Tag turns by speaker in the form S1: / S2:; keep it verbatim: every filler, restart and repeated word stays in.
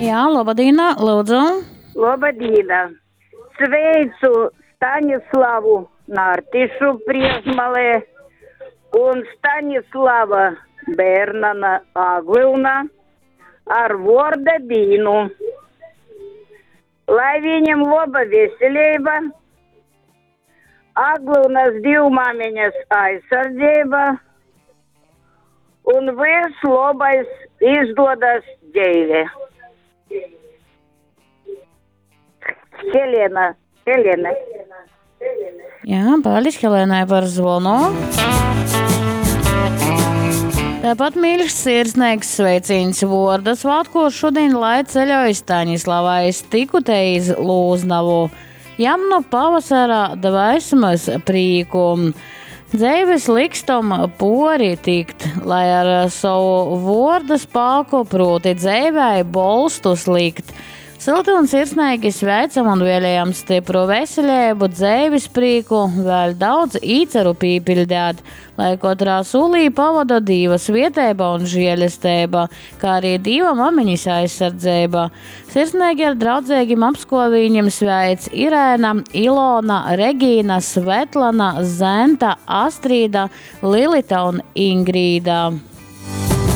S1: Jā, labadīna, lūdzu.
S2: Labadīna. Sveicu Stanislavu Nārtišu Priezmalē un Stanislava Bērnana Aglilna ar vorda dīnu. Lai viņam laba veselība, Aglilnas divmāmiņas aizsardzība un viss labais izdodas dzīve. Helena, Helena.
S1: Jā, paldies Helēnai par zvonu. Tāpat mīļš sirsnīgs sveiciens Vorda svētkos šodien, lai ceļoja Staņislavais tikutē iz Lūznavu. Jam no pavasara dvēsmas prīku. Dzeives likstom pori tikt, lai ar savu vorda spāku proti dzeivēi bolstus likt. Silti un sirsnīgi sveicam un vēlējam stipru veselību, dzeives prieku, vēl daudz īceru pīpildēt, lai katrā solī pavada Dīva svietēba un žēlestība, kā arī Dīva mamiņas aizsardzība. Sirsnīgi ar draudzīgiem apskovīņiem sveic Irēna, Ilona, Regīna, Svetlana, Zenta, Astrīda, Lilita un Ingrīda.